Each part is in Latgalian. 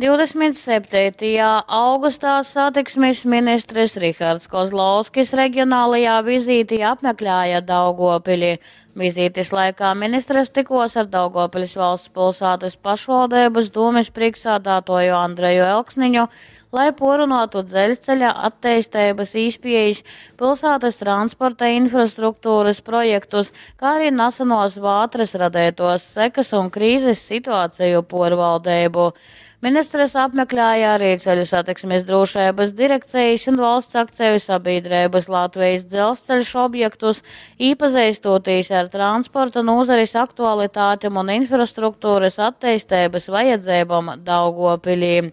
27. Augustā satiksmis ministrs Rihards Kozlovskis regionālajā vizītī apmeklēja Daugopili. Vizītes laikā ministrs tikos ar Daugavpils valsts pilsētas pašvaldības dūmes priekšsādātoju Andreju Elksniņu, lai porunotu dzelzceļa attīstības īspējas, pilsētas transporta infrastruktūras projektus, kā arī nesenos vātras radētos sekas un krīzes situāciju porvaldību. Ministrs apmeklēja arī Ceļu satiksmes drošības direkcijas un valsts akciju sabiedrības Latvijas dzelzceļš objektus, īpazīstoties ar transporta nozares aktualitātēm un infrastruktūras attīstības vajadzībām Daugopilī.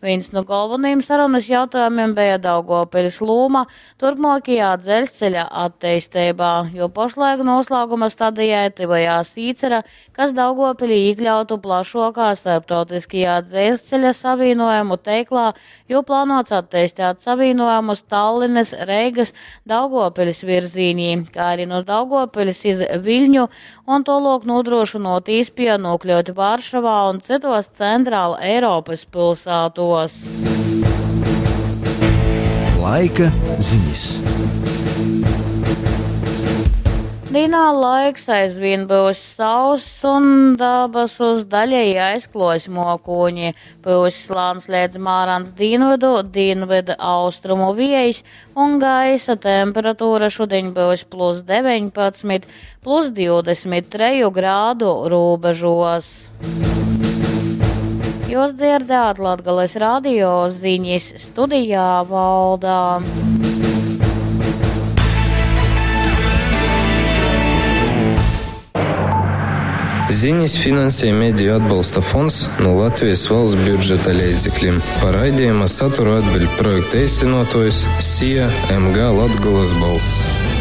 Viens no galvenajiem sarunas jautājumiem bija Daugavpils loma turpmākajā dzelzceļa attīstībā, jo pašlaik noslēguma stadijai tuvojās īcera, kas Daugavpilī iekļautu plašākā starptautiskajā dzelzceļa savienojumu teiklā, jo plānots attīstīt savienojumus Tallinas, Reigas, Daugavpils virzīnī, kā arī no Daugavpils iz Viļņu un tolok nodrošinot īspēju nokļūt Varšavā un citos centrāla Eiropas pilsētos. Laika ziņas. Dīnā laiks aizvien būs sauss un dabasus daļēji aizklos mokūņi. Būs slāns līdz mārans dienvidu, dienvidu austrumu viejs un gaisa temperatūra šodien būs plus 19, plus 23 grādu robežos. Jūs dzirdējāt Latgales radio ziņas studijā Valdā. Ziņas finansē Mediju atbalsta fonds no Latvijas valsts budžeta līdzekļiem. Par raidījuma saturu atbild projekta īstenotojs SIA MG Latgulas balss.